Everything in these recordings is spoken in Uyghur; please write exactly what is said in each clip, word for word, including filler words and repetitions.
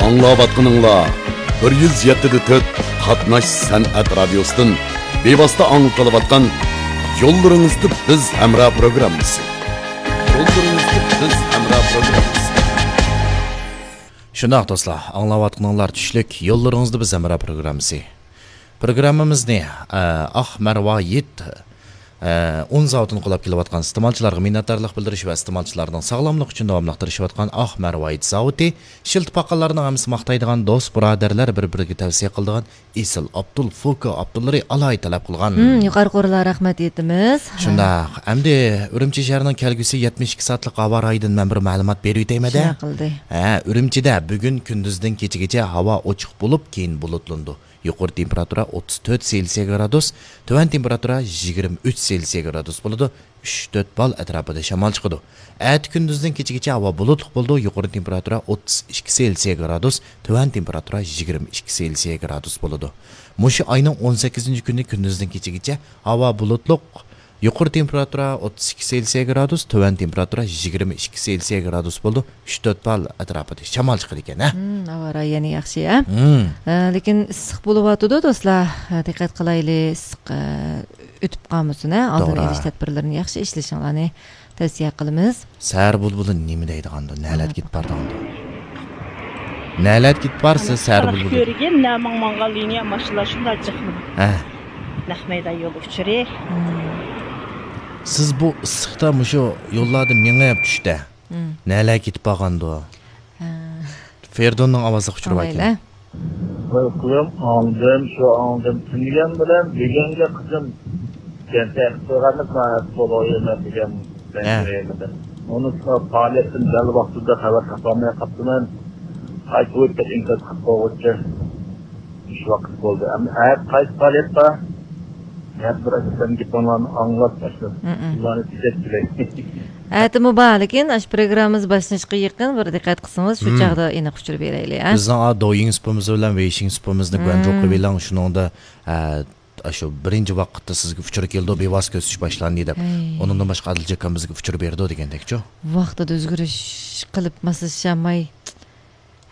ئاڭلاۋاتقىنىڭلار بىر يۈز يەتتە دە تۆت قاتناش سەنئەت رادىيوسىدىن بىۋاسىتە ئاڭلىتىلىۋاتقان يوللىرىڭىزدا بىز ھەمراھ پروگراممىسى. يوللىرىڭىزدا بىز ھەمراھ پروگراممىسى. شۇنداق دوستلار، ئاڭلاۋاتقىنىڭلار چۈشلۈك يوللىرىڭىزدا بىز ھەمراھ پروگراممىسى. پروگراممىمىزنى، ئە، ئاق مەرۋايىت، ئە، ئۇن زاۋۇتىنى قولاپ كېلىۋاتقان ئىستېمالچىلارغا مىننەتدارلىق بىلدۈرۈش ۋە ئىستېمالچىلارنىڭ ساغلاملىقى ئۈچۈن داۋاملىق تىرىشىۋاتقان ئاق مەرۋايىت زاۋۇتى، ئىشلىتىپ باققانلارنىڭ ھەممىسى ماختايدىغان، دوست بۇرادەرلەر بىر-بىرىگە تەۋسىيە قىلىدىغان ئېسىل ئابدۇل فوكا ئابدۇللىرى ئالاھىدە تەلەپ قىلغان. ھىم، يۇقىرى قورۇلار رەھمەت ئېيتىمىز. شۇنداق. ئەمدى ئۈرۈمچى شەھىرىنىڭ كەلگۈسى يەتمىش ئىككى سائەتلىك ھاۋا رايىدىن مەن بىر مەلۇمات بېرىۋېتەيمەن-دە. شۇنداق قىلدى. ھە، ئۈرۈمچىدە بۈگۈن كۈندۈزدىن كېچىگىچە ھاۋا ئوچۇق بولۇپ، كېيىن بۇلۇتلىنىدۇ. يۇقىرى تېمپېراتۇرا ئوتتۇز تۆت سېلسىيە گرادۇس، تۆۋەن تېمپېراتۇرا يىگىرمە ئۈچ سېلسىيە گرادۇس بولىدۇ. ئۈچ تۆت بال ئەتراپىدا شامال چىقىدۇ. ئەتە كۈندۈزدىن كېچىگىچە ھاۋا بۇلۇتلۇق بولىدۇ، يۇقىرى تېمپېراتۇرا ئوتتۇز ئىككى سېلسىيە گرادۇس، تۆۋەن تېمپېراتۇرا يىگىرمە ئىككى سېلسىيە گرادۇس بولىدۇ. مۇشۇ ئاينىڭ ئون سەككىزىنچى كۈنى كۈندۈزدىن كېچىگىچە ھاۋا بۇلۇتلۇق، يۇقىرى تېمپېراتۇرا ئوتتۇز ئىككى سېلسىيە گرادۇس، تۆۋەن تېمپېراتۇرا يىگىرمە ئىككى سېلسىيە گرادۇس بولىدۇ. ئۈچ تۆت بال ئەتراپىدا شامال چىقىدىكەن، ھە؟ ھىم، ھاۋا رايى يەنە ياخشى، ھە؟ ھىم. ئە، لېكىن ئىسسىق بولۇۋاتىدۇ، دوستلار. ئە، دىققەت قىلايلى، ئىسسىق، ئە، ئۆتۈپ قالمىسۇن، ھە؟ ئالدىنى توغرا. ئېلىش تەدبىرلىرىنى ياخشى ئىشلىشىڭلارنى تەۋسىيە قىلىمىز. سەھەر بۇلبۇلى نېمە دەيدىغاندۇ؟ نەلەرگە كېتىپ بارىدىغاندۇ؟ نەلەرگە كېتىپ بارسىز سەھەر بۇلبۇلى؟ كۆرگەن، نەمىڭ ماڭغان لىنىيە ماشىنىلار شۇنداق جىقمىدى. ھە. نەق مەيدان يول ئۇچۇرى. سىز بۇ ئىسسىقتا مۇشۇ يوللاردا مېڭىپ چۈشتە، نەلەرگە كېتىپ بارغاندۇ؟ ھە. فېرىدۇننىڭ ئاۋازلىق ئۇچۇرى بار ئىكەن. ئاڭلايلى. توي قىلىم، ئاڭلىدىم، شۇ ئاڭلىدىم. تۈنىگەن بىلەن بۈگۈنگە قىزىم كەنتەر قىلغانلىق ناھايىتى بولۇۋېرىمەن دېگەن ھە. ئۇنى پائالىيەتتىن دەل ۋاقتىدا خەۋەر تاپالماي قاپتىمەن. قايتا بۇ يەرگە ئىنكاس قىلىپ قويغۇچە مۇشۇ ۋاقىت بولدى. ئەمدى ئەتە قايسى پائالىيەت بار؟ ھەر بىر ئەسەن گېپىڭلارنى ئاڭلاپ باشلىدىم. مم. ئۇلارنى تۈزەتكىلەي. ئەتىمۇ بار، لېكىن ئاشۇ پروگراممىمىز باشلىنىشقا يېقىن بىر دىققەت قىلسىڭىز، شۇ مم. چاغدا ئېنىق ئۇچۇر بېرەيلى، ھە؟ بىزنىڭ، ئا، دويىڭ سۇپىمىز بىلەن ۋېيشىڭ سۇپىمىزنى گۇەنجۇ مم. قىلىۋېلىڭ، شۇنىڭدا، ئە، ئاشۇ بىرىنچى ۋاقىتتا سىزگە ئۇچۇر كېلىدۇ، بىۋاسىتە كۆرسىتىش باشلاندى دەپ. ھەي. ئۇنىڭدىن باشقا ئادىل ئاكام بىزگە ئۇچۇر بېرىدۇ دېگەندەكچۇ؟ ۋاقتىدا ئۆزگىرىش قىلىپ ماسلىشالماي،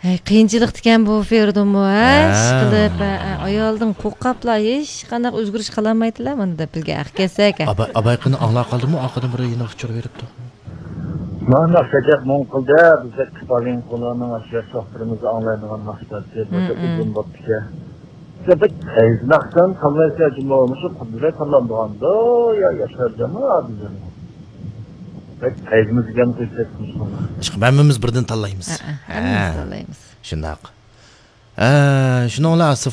ھەي، قىيىنچىلىقتىكەن بۇ فېرىدۇنمۇ، ھە؟ ھە. ئىشقىلىپ، ھە، ھە، ئايالدىن قورقۇپلا ھېچقانداق ئۆزگىرىش قىلالمايدىلا، مانا دەپ بىزگە ھەق كەلسەك، ھە. ئاباي، ئاباي قېنى ئاڭلاپ قالدىمۇ؟ ئارقىدىن بىر يېنىق ئۇچۇر بېرىپتۇ. مانا ناخشا دەپ مۇڭ قىلدى، بىزدەك كىتابىن قۇلارنىڭ ئاشۇ ياش ۋاقىتلىرىمىزدا ئاڭلايدىغان ناخشىلار، بىر مم، ئۇزۇن مم. بوپتىكەن. بىر قەيسى ناخشىلارنى تاللايسىلەر جۇمۇ؟ مۇشۇ قۇدرەت تاللامدىغاندۇ يا ياشار جامال ئادىلجانمۇ؟ بەك قەيسىمىز دېگەن قىلساق مۇشۇنى. ئىشقىلىپ ھەممىمىز بىردىن تاللايمىز. ھە، ھە، ھەممىمىز ھە. تاللايمىز. شۇنداق. ھە، شۇنىڭ بىلەن ئاستىفان